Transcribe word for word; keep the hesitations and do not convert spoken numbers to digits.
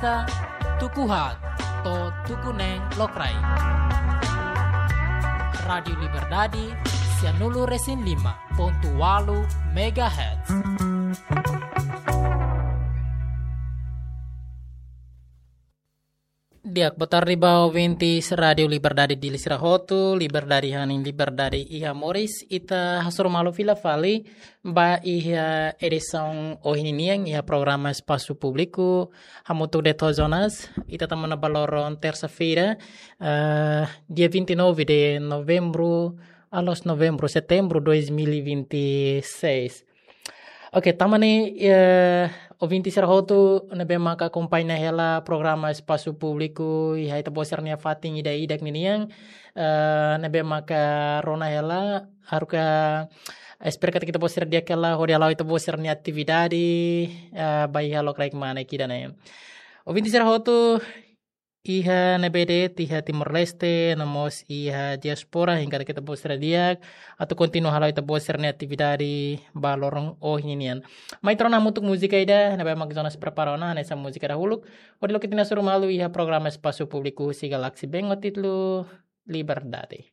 ita, tuku haat to'o tuku neen lokraik. Rádiu Liberdade, sianulu resin lima pontu ualu megahertz. Di'ak, boa tarde ba ouvintes Rádiu Liberdade Dili sira hotu, liberdade hanesan liberdade iha moris. Ita hasoru malu fila fali ba iha edisaun ohin nian iha programa Espasu Públiku hamutuk de'it ho Jonas. Ita tama ona ba loron tersa-feira, eh, dia vinte e nove de novembro, alos novembro, setembro dois mil e vinte e seis. Oke, tama ne'e, eh, ouvintes sira hotu ne'ebé maka akompaña hela programa Espasu Públiku iha ita-boot sira-nia fatin ida-idak ninian, eh, ne'ebé maka rona hela, haruka espera katak ita-boot sira di'ak hela hodi hala'o ita-boot sira-nia atividade, eh, ba iha lokraik mane ida-ne'e. Ouvintes sira hotu iha ne'ebé de'it, iha Timor-Leste, no mós iha diáspora, hein katak ita-boot sira di'ak atu kontinua hala'o ita-boot sira-nia atividade ba loron ohin nian. Mai ita rona hamutuk múzika ida ne'ebé mak Jonas prepara ona, hanesan múzika dahuluk, hodi loke ita-nia hasoru malu iha programa Espasu Públiku husi Galaxy Bank ho títulu Liberdade.